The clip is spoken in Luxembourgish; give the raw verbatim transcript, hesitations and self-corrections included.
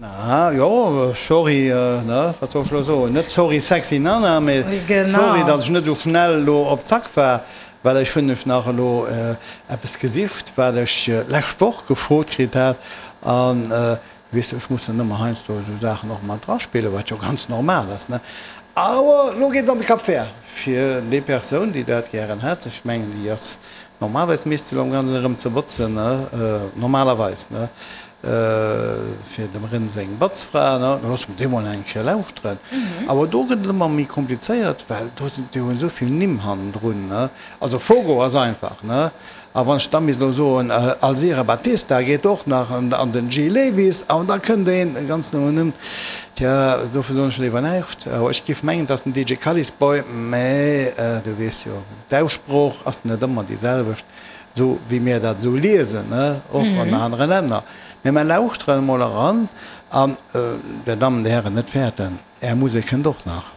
Aha, jo, sorry, ne, wat soll ech elo soen, net sorry sexy Nana, mee sorry, datt ech net esou schnell elo op Zack war, well ech hunn ech nach elo eppes gesicht, wat ech d'lescht Woch gefrot kritt hat, an weess de, ech muss dann ëmmer heiansdo esou Saachen och mat draspillen, wat jo ganz normal ass, ne. Awer elo geet et an de Cap Vert fir déi Persoun, déi dat gären hätt. Ech mengen, déi ass normalerweis misst se elo am Ganzen erëm ze botzen, ne, normalerweis, ne. Fir dem Rén seng Batzfra, ne, da loosse mer déi mol eng Kéier lauschteren. Awer do gëtt et ëmmer méi komplizéiert, well do sinn, déi hunn esou vill Nimm hannendrun, ne. Also Fogo ass einfach, ne. A wann ech da misst elo soen, Alzira Batista geet och nach, an an den Gil Lewis, an da kënnt een e ganz noen Numm, tja, dofir soen ech léiwer näischt. Awer ech géif mengen, et ass den D J Kallisboy, mä du weess jo, d'Aussprooch ass net ëmmer déi selwecht. Esou wéi mir dat esou liesen, ne, och an anere Länner. Mä mer lauschteren emol eran an, Dir Dammen, Dir Hären, net fäerten, Är Musek kënnt och nach.